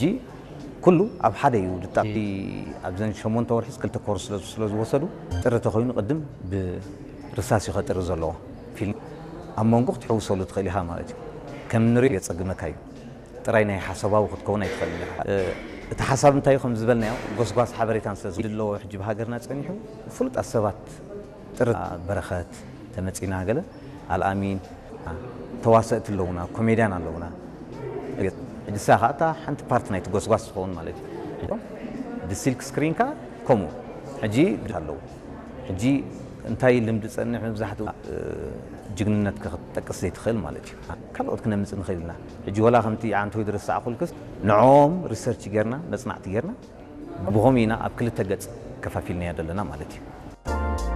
ሕጂ ኩሉ ኣብ ሓደ እዩ ድጣቂ ኣብዘን ሸሞንተ ወርሒ ክልተ ኮርስ ስለ ዝወሰዱ ጥሪ ተኮይኑ ቅድም ብርሳስ እዩ ከጥሪ ዘለዎ ፊልም ኣብ መንጎ ክትሕውሰሉ ትኽእል ኢኻ ማለት እዩ። ከም ንሪኦ የጸግመካ እዩ። ጥራይ ናይ ሓሳባዊ ክትከውን ኣይትኽእል ኢኻ። እቲ ሓሳብ እንታይ እዩ ከም ዝበልናዮ ጎስጓስ ሓበሬታን ስለ ዝድለዎ ሕጂ ብሃገርና ጸኒሑ ፍሉጣት ሰባት ጥሪ በረኸት ተመጺና ገለ ኣልኣሚን ተዋሰእቲ ኣለውና ኮሜድያን ኣለውና። ሕጂ ንሳ ከዓ እታ ሓንቲ ፓርት ናይቲ ጎስጓስ ትኸውን ማለት እዩ። ብሲልክ ስክሪን ከዓ ከምኡ ሕጂ ኣለዉ። ሕጂ እንታይ ልምዲ ጸንሕ መብዛሕትኡ ጅግንነት ክትጠቅስ ዘይትኽእል ማለት እዩ። ካልኦት ክነምጽእ ንኽእል ኢና። ሕጂ ወላ ከምቲ ዓንተወይ ዝረሳዕኩልክስ ንዕኦም ሪሰርች ጌርና መጽናዕቲ ጌርና ብኸምኡ ኢና ኣብ ክልተ ገጽ ከፋፊልናዮ ዘለና ማለት እዩ።